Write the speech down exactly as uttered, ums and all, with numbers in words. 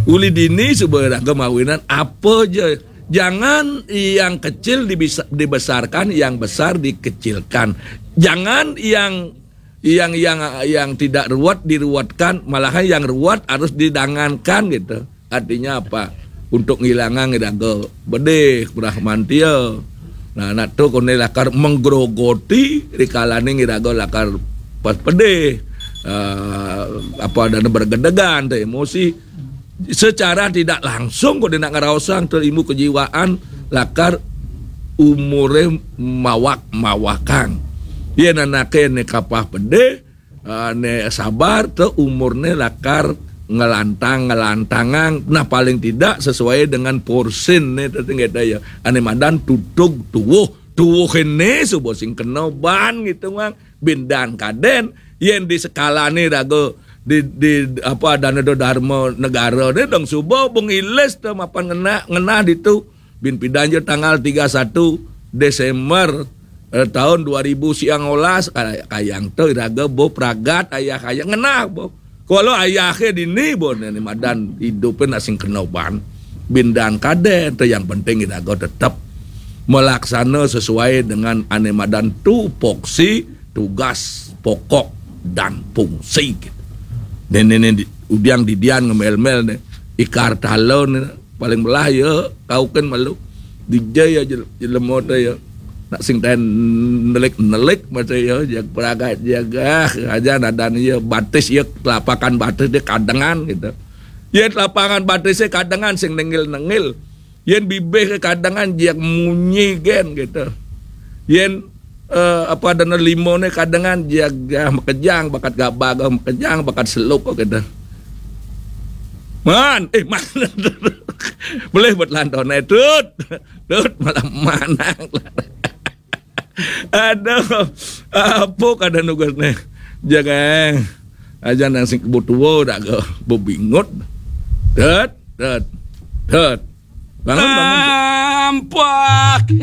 Uli dini suba iraga mawinan apa ja. Jangan yang kecil dibisa-, dibesarkan, yang besar dikecilkan. Jangan yang yang yang yang tidak ruwet diruwetkan, malahan yang ruwet harus didangankan gitu. Artinya apa? Untuk ngilangang iraga pedih, brahmantia. Nah, nak tu koné lakar menggerogoti rikalane iraga lakar pas pedih. Eh, apa dana bergedegan tu emosi. Secara tidak langsung koné nak ngeraosang tu ilmu kejiwaan lakar umure mawak-mawakang. Yen anake ne kapah pedih, eh, ne sabar tu umurne lakar ngelantang-ngelantangang. Nah, paling tidak sesuai dengan porsin ne tu tinggal ya. Ane madan tutug tuwuh. Tuwuh ini suba sing kena ban gitu, Mang. Bindan kaden, yen di sekalane raga di, di apa, dana do dharma negara ne dong suba bengilis tu mapan ngena, ngena ditu. Bin pidan je tanggal tiga satu Desember, eh, tahun dua ribu siang olas, kay-, kayang tu iraga bo pragat ayah kayang ngena bo. Kalau ayahnya dini bo, ne madan hidup nak sing kena ban. Bindan kaden tu yang penting iraga tetap melaksana sesuai dengan ane madan tupoksi tugas pokok dan fungsi. Ne, ne, ne, di, udiang didian ngemel-mel ne. Ikar talon ne. Paling belah ya, kau kan malu. Dijai ya jel-, jelema tu ya. Nak sing tan nelik-nelik masa ya, jag peragat, jag, ah, aja nadan ya, batis ya, telapakan batis dia kadengan gitu. Ya, telapakan batisnya kadengan sing nengil-nengil. Yen bibih ke kadengan jag munyi gen gitu. Yen, eh, apa dana limone kadengan jag, ah, makejang bakat gabag, ah, makejang bakat seluk gitu. Man, eh, man. Boleh buat lantone, Tut. Tut, malam manang. Aduh, apa kada nugas ne? Jangan. Aja nang sing kebutuh dah ke bebingut. Tut, tut, tut. Bangun, bangun. Nampak.